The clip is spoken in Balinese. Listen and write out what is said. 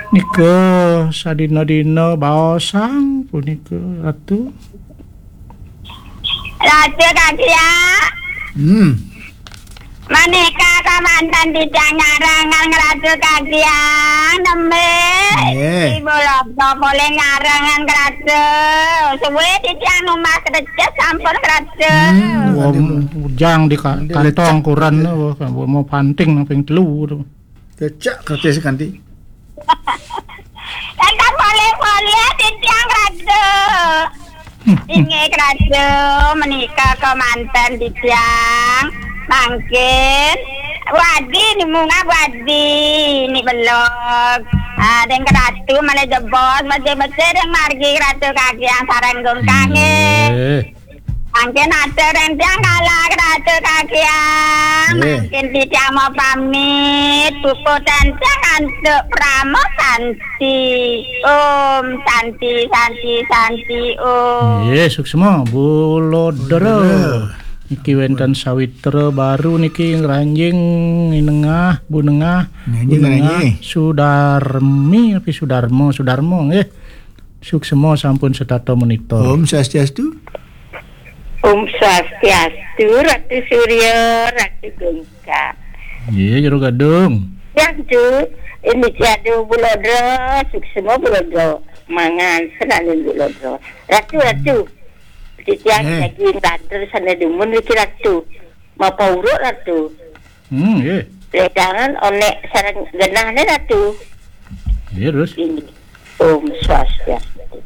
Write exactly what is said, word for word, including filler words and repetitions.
Nika sadina-dina baosang punika, Ratu. Ratu Kagiang. Hmm. Menika kamanten titiang nyarengan Ratu Kagiang, nembé. Nggih. Ibu Lobdo polih nyarengan Ratu. Suwé titiang numbas krecek sampun Ratu. Hmm, wong bujang di ka-, kantong kuren, wah, mau panting nang ping telu. Krecek, krecek kanti. Ingkang polih-polih titiang Ratu. Inggih Ratu, menika kamanten titiang. Mangkin wadi ni munggah wadi ni belog. Ah, deng Ratu malih jebos, becik-becik deng margi Ratu Kagiang sareng gungkang. Nggih. Mangkin atur ring tiang kalih Ratu Kagiang. Nggih. Mangkin titiang mau pamit, puput titiang antuk Parama Santi. Om Santi, Santi, Santi, Om. Nggih, suksma, Bu Lodra. Bu Lodra. Niki wénten sawitra baru niki ngranjing, Nengah, Bu Nengah, Nggih, Bu Nengah, nggih. Sudarmi, tapi Sudarmo, Sudarmo, nggih. Suksma sampun setata monitor. Om Swastiastu. Om Swastiastu, Ratu Surya, Ratu Gungkang. Iya, Jero Gadung. Ya, Ju. Ini Jadu Bu Lodra, suksma Bu Lodra. Mangan, senajan Bu Lodra. Ratu, Ratu. Titiang Eh. Lagi nglantur sana dumun niki Ratu. Mapa uruk Ratu? Hmm, nggih. Ledangan onek sareng genahne Ratu. Nggih, terus? Ini. Om Swastiastu.